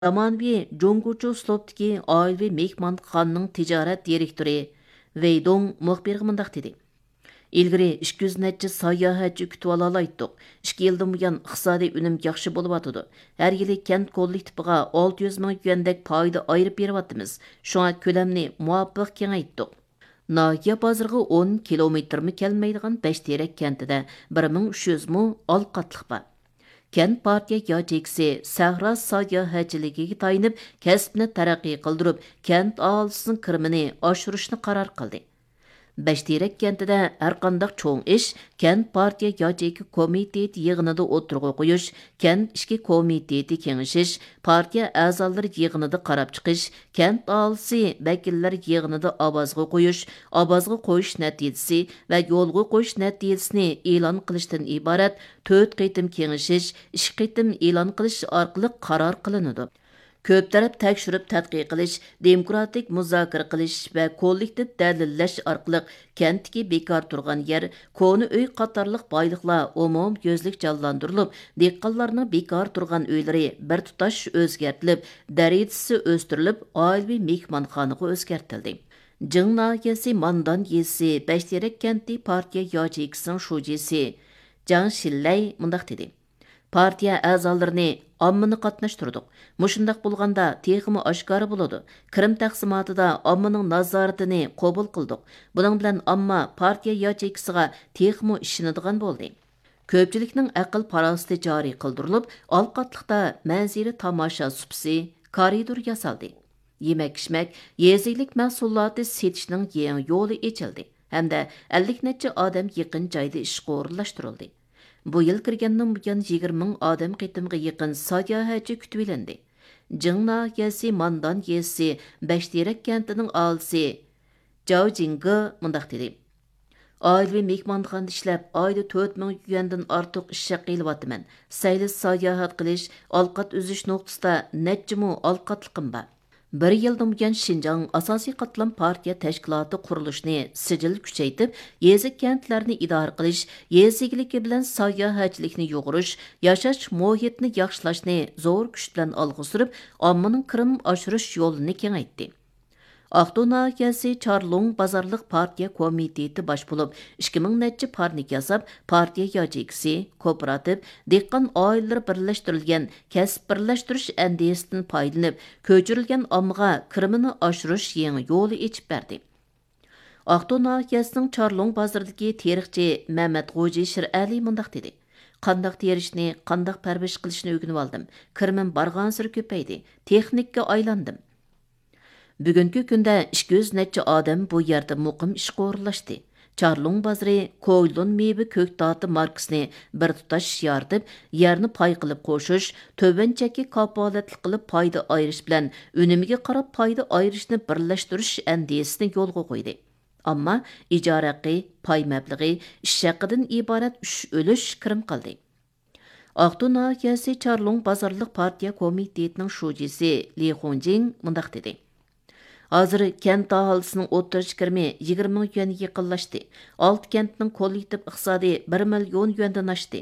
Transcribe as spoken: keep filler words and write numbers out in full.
زامانىۋى جۇڭگوچە ئۇسلۇبتىكى ئائىلىۋى مېھمانخانىنىڭ تىجارەت دىرېكتورى ۋېي دۇڭ مۇخبىرغا مۇنداق دېدى: «ئىلگىرى ئىككى يۈز نەچچە ساياھەتچى كۈتۈۋالالايتتۇق. ئىككى يىلدىن بۇيان ئىقتىسادىي ئۈنۈم ياخشى بولۇۋاتىدۇ. ھەر يىلى كەنت كوللېكتىپىغا ئالتە يۈز مىڭ يۈەندەك پايدا ئايرىپ بېرىۋاتىمىز. شۇڭا كۆلەمنى مۇۋاپىق كېڭەيتتۇق.» ناھىيە بازىرىغا ئون كىلومېتىرمۇ كەلمەيدىغان بەشتېرەك كەنتىدە بىر مىڭ ئۈچ يۈز مو ئالقاتلىق بار. كەنت پارتىيە ياچېيكىسى سەھرا ساياھەتچىلىكىگە تايىنىپ، كەسىپنى تەرەققىي قىلدۇرۇپ، كەنت ئاھالىسىنىڭ كىرىمىنى ئاشۇرۇشنى قارار قىلدى. بەشتېرەك كەنتىدە ھەرقانداق چوڭ ئىش كەنت پارتىيە ياچېيكا كومىتېتى يىغىنىدا ئوتتۇرىغا قويۇش، كەنت ئىچكى كومىتېتى كېڭىشىش، پارتىيە ئەزالىرى يىغىنىدا قاراپ چىقىش، كەنت ئاھالىسى ۋەكىللەر يىغىنىدا ئاۋازغا قويۇش، ئاۋازغا قويۇش نەتىجىسى ۋە يولغا قويۇش نەتىجىسىنى ئېلان قىلىشتىن ئىبارەت تۆت قېتىم كېڭىشىش، ئىككى قېتىم ئېلان قىلىش ئارقىلىق قارار قىلىنىدۇ. كۆپ تەرەپ تەكشۈرۈپ تەتقىق قىلىش، دېموكراتىك مۇزاكىرە قىلىش ۋە كوللېكتىپ دەلىللەش ئارقىلىق كەنتتىكى بىكار تۇرغان يەر، كونا ئۆي قاتارلىق بايلىقلار ئومۇميۈزلۈك جانلاندۇرۇلۇپ، دېھقانلارنىڭ بىكار تۇرغان ئۆيلىرى بىر تۇتاش ئۆزگەرتىلىپ، دەرىجىسى ئۆستۈرۈلۈپ، ئائىلىۋى مېھمانخانىغا ئۆزگەرتىلدى. جىڭ ناھىيەسى ماندان يېزىسى بەشتېرەك كەنتى پارتىيە ياچېيكىسىنىڭ شۇجىسى جاڭ شىنلەي مۇنداق دېدى: پارتىيە ئەزالىرىنى، ئاممىنى قاتناشتۇردۇق. مۇشۇنداق بولغاندا تېخىمۇ ئاشكارا بولىدۇ. كىرىم تەقسىماتىدا ئاممىنىڭ نازارىتىنى قوبۇل قىلدۇق. بۇنىڭ بىلەن ئامما پارتىيە ياچېيكىسىغا تېخىمۇ ئىشىنىدىغان بولدى. كۆپچىلىكنىڭ ئەقىل-پاراسىتى جارى قىلدۇرۇلۇپ، ئالقاتلىقتا مەنزىرە تاماشا سۇپىسى، كارىدور ياسالدى. يېمەك-ئىچمەك، يېزا ئىگىلىك مەھسۇلاتى سېتىشنىڭ يېڭى يولى ئېچىلدى ھەمدە ئەللىك نەچچە ئادەم يېقىن جايدا ئىشقا ئورۇنلاشتۇرۇلدى. بۇ يىل كىرگەندىن بۇيان يىگىرمە مىڭ ئادەم قېتىمغا يېقىن ساياھەتچى كۈتۈۋېلىندى. جىڭ ناھىيەسى ماندان يېزىسى بەشتېرەك كەنتىنىڭ ئاھالىسى جاۋ جىڭگې مۇنداق دېدى: ئائىلىۋى مېھمانخانىدا ئىشلەپ، ئايدا تۆت مىڭ يۈەندىن ئارتۇق ئىش ھەققى ئېلىۋاتىمەن. سەيلە ساياھەت قىلىش، ئالقات ئۈزۈش نۇقتىسىدا نەچچە مو ئالقاتلىقىم بار. بىر يىلدىن بۇيان شىنجاڭ ئاساسىي قاتلام پارتىيە تەشكىلاتى قۇرۇلۇشىنى سىجىل كۈچەيتىپ، يېزا، كەنتلەرنى ئىدارە قىلىش، يېزا ئىگىلىكى بىلەن ساياھەتچىلىكنى يۇغۇرۇش، ياشاش مۇھىتىنى ياخشىلاشنى زور كۈچ بىلەن ئالغا سۈرۈپ، ئاممىنىڭ كىرىم ئاشۇرۇش يولىنى كېڭەيتتى. ئاقتۇ ناھىيەسى چارلۇڭ بازارلىق پارتىيە كومىتېتى باش بولۇپ، ئىككى مىڭ نەچچە پارنىك ياساپ، پارتىيە ياچېيكىسى، كوپىراتىپ، دېھقان ئائىلىلىرى بىرلەشتۈرۈلگەن كەسىپ بىرلەشتۈرۈش ئەندىزىسىدىن پايدىلىنىپ، كۆچۈرۈلگەن ئاممىغا كىرىمىنى ئاشۇرۇش يېڭى يولى ئېچىپ بەردى. ئاقتۇ ناھىيەسىنىڭ چارلۇڭ بازىرىدىكى تېرىقچى مەمەت غوجى شىرئەلى مۇنداق دېدى: قانداق تېرىشنى، قانداق پەرۋىش قىلىشنى ئۆگىنىۋالدىم. كىرىمىم بارغانسېرى كۆپەيدى، تېخنىككا ئايلاندىم. بۈگۈنكى كۈندە ئىككى يۈز نەچچە ئادەم بۇ يەردە مۇقىم ئىشقا ئورۇنلاشتى. چارلۇڭ بازىرى كويلۇن مېۋە كۆكتاتى ماركىسىنى بىر تۇتاش يارىتىپ، يەرنى پاي قىلىپ قوشۇش، تۆۋەن چەككە كاپالەتلىك قىلىپ پايدا ئايرىش بىلەن ئۈنۈمىگە قاراپ پايدا ئايرىشنى بىرلەشتۈرۈش ئەندىزىسىنى يولغا قويدى. ئەمما ئىجارە ھەققى، پاي مەبلىغى، ئىش ھەققىدىن ئىبارەت ئۈچ ئۈلۈش كىرىم قىلدى. ئاقتۇ ناھىيەسى چارلۇڭ بازارلىق پارتىيە كومىتېتىنىڭ شۇجىسى لى خۇڭجىڭ مۇنداق دېدى: ھازىر كەنت ئاھالىسىنىڭ ئوتتۇرىچە كىرىمى يىگىرمە مىڭ يۈەنگە يېقىنلاشتى. ئالتە كەنتنىڭ كوللېكتىپ ئىقتىسادى بىر مىليون يۈەندىن ئاشتى.